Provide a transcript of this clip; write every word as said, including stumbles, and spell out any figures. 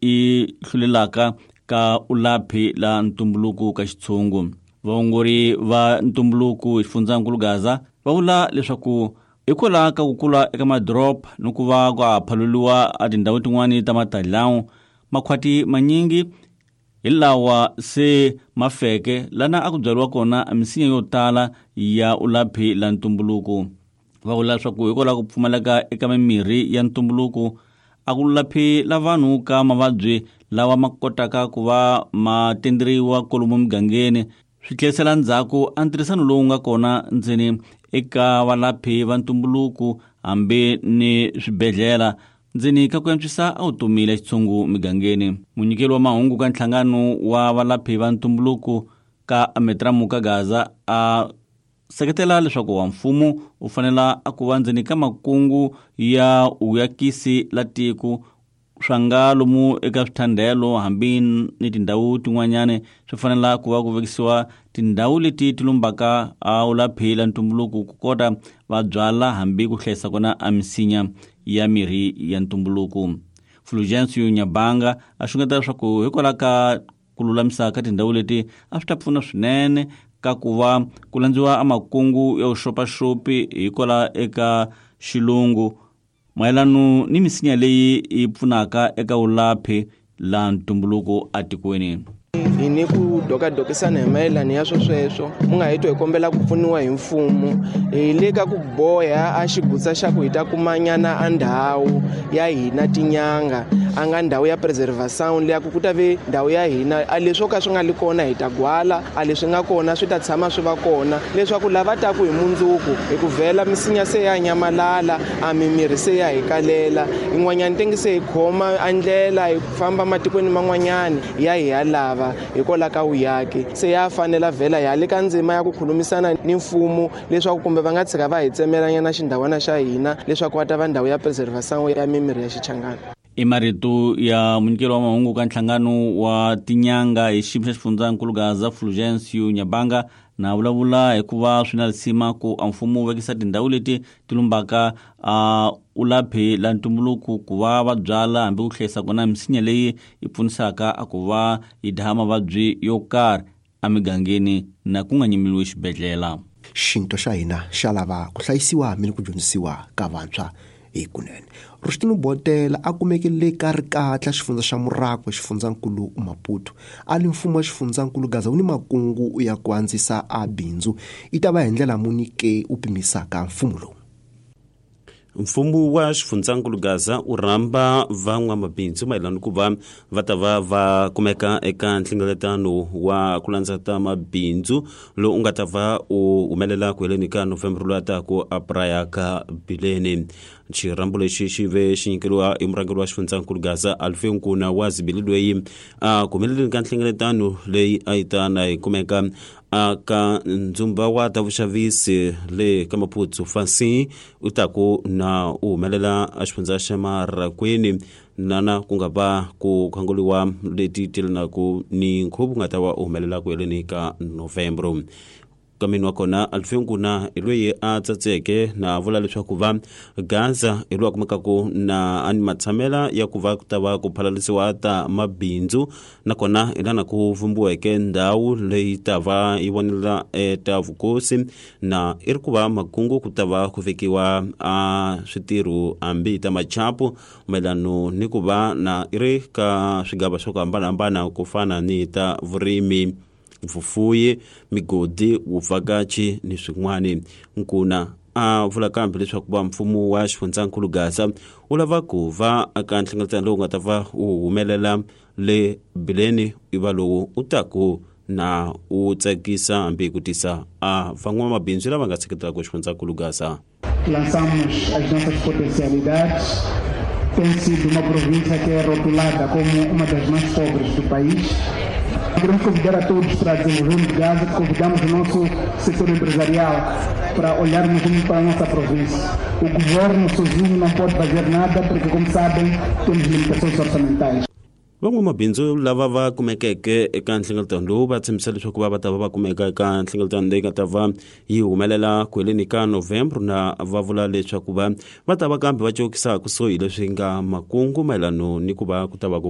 I hlulelaka ka ulaphi la ntumbuluko ka xitshungu. Vaongori va ntumbuluko xifundzankulu Gaza va vula leswaku hikwalaho ka ku kula eka madoroba ni ku va ku phaluriwa a tindhawu tin'wani ta matalawu, makhwati manyingi hi lawa se ma feke lana a ku byariwa kona misinya yo tala ya ulaphi la ntumbuluko. Va vula leswaku hikwalaho ku pfumaleka eka mimirhi ya ntumbuluko a ku laphi la vanhu ka mavabyi lawa ma kotaka ku va ma tenderiwa kwalomu mugangeni, swi tlherisela ndzhaku a ntirhisano lowu nga kona ndzeni eka valaphi va ntumbuluko hambi ni swibedhlele ndzeni ka ku antswisa a vutomi la xitshungu migangeni. Munyikeli wa mahungu ka nhlangano wa valaphi va ntumbuluko ka Ametramu ka Gaza a seketela leswaku wa mfumo u fanela a ku va ndzeni ka makungu ya uyakisi la tiko swa nga lomu eka swithandelo hambi ni tindhawu tin'wanyani swi fanela ku va ku vekisiwa tindhawu leti ti lumbaka a ulaphi la ntumbuluko ku kota va byala hambi ku hlayisa kona a misinya ya mirhi ya ntumbuluko. Fulgencio Nyabanga a xungeta leswaku hikwalaho ka ku lulamisa ka tindhawu leti a swi ta pfuna swinene ka ku va ku landziwa a makungu ya vuxopaxopi hikwalaho eka xilungu mayelano ni misinya leyi yi pfunaka eka vulaphi la ntumbuluko atikweni. Hi ni ku dokadokisana hi mayelana ya swo sweswo mu nga hi twa hi kombela ku pfuniwa hi mfumo hi le ka ku boha a xigutsa xa ku hi ta kumanyana a ndhawu ya hina tinyanga a nga ndhawu ya preservation leya ku ku ta ve ndhawu ya hina a leswo ka swi nga li kona hi ta gwala a leswi nga kona swi ta tshama swi va kona leswaku lava taku hi mundzuku hi ku vhela misinya se ya nyamalala a mimirhi se ya hi kalela yin'wanyana tenge se hi khoma a ndlela hi famba matikweni man'wanyani ya hi ya lava hikwalaho ka vuyaki se ya fanela vhela ya le ka ndzima ya ku khulumisana ni mfumo leswaku kumbe va nga tshika va hi tsemelanyana xindhawana xa hina leswaku va ta va ndhawu ya preservation ya mimirhi ya xichangana. I marito ya munyikeli wa mahungu ka nhlangano wa tinyanga hi xiyimo xa xifundzankulu Gaza Fulgencio Nyabanga na vulavula hikuva swi na risima ku a mfumo wu vekisa tindhawu leti ti lumbaka a ulaphi la ntumbuluko ku va va byala hambi ku hlayisa kona misinya leyi yi pfunisaka a ku va yi dlaya mavabyi yo karhi emigangeni na ku nga nyimeliwi xibedhlele. Xinto xa hina xa lava ku hlayisiwa ni ku dyondzisiwa ka vantshwa hi kunene. Rushtino Botela a kumeke le ka Rikatla xifundza xa Murako xifundzankulu Maputo. A li mfumo wa xifundzankulu Gaza wu ni makungu ya ku andzisa a bindzu i ta va hi ndlela muni ke u pimisaka mfumo lowu. Mfumo wa xifundzankulu Gaza u rhamba van'wamabindzu mayelana ku va va ta va va kumeka eka nhlengeletano wa ku landza ta mabindzu lowu u nga ta va u humelela ku heleni ka November lowu taku a Praia ka Bileni. Xirhambo lexi xi ve xi nyikeriwa hi murhangeri wa xifundzankulu Gaza Alfie Nkuna wa Zibili loyi a ku humeleleni ka nhlengeletano leyi a yi ta na yi kumeka a ka ndzumba wa ta vuxavisi le ka Maputo Fancy u ta ku na u humelela a xifundza xa Marakwini nana ku nga va ku khanguriwa leti telanaku ni nkhuvo nga ta va u humelela ku heleni ka November. Kameni wa kona Alfie Nkuna hi loyi a tsatseke na vula leswaku va Gaza hi loyi a kumekaku na a ni matshamela ya ku va ku ta va ku phalalisiwa ta mabindzu nakona hi lana ku vumbiweke ndhawu leyi ta va yi vonela ta vukosi na i ri ku va makungu ku ta va ku vekiwa a switirho hambi ta machapu mayelano ni ku va na i ri ka swigava swa ku hambanahambana ku fana ni ta vurimi, vufuyi, migodi, vuvhakachi ni swin'wani. Nkuna a vula kambe leswaku va mfumo wa xifundzankulu Gaza wu lava ku va aka nhlengeletano lowu nga ta va wu humelela le Bileni i va lowu u taku na u tsakisa hambi ku tisa a van'wamabindzu lava nga seketelaka xifundzankulu Gaza. Lançamos as nossas potencialidades. Tem sido uma província que é rotulada como uma das mais pobres do país. Queremos convidar a todos para desenvolvermos Gaza, convidamos o nosso setor empresarial para olharmos para a nossa província. O governo sozinho não pode fazer nada porque, como sabem, temos limitações orçamentais. Van'wamabindzu lava va kumekeke eka nhlengeletano lowu va tshembisa leswaku va va ta va va kumeka eka nhlengeletano leyi nga ta va yi humelela ku heleni ka November na va vula leswaku va va ta va kambe va cokisa kusuhi leswi nga makungu mayelano ni ku va ku ta va ku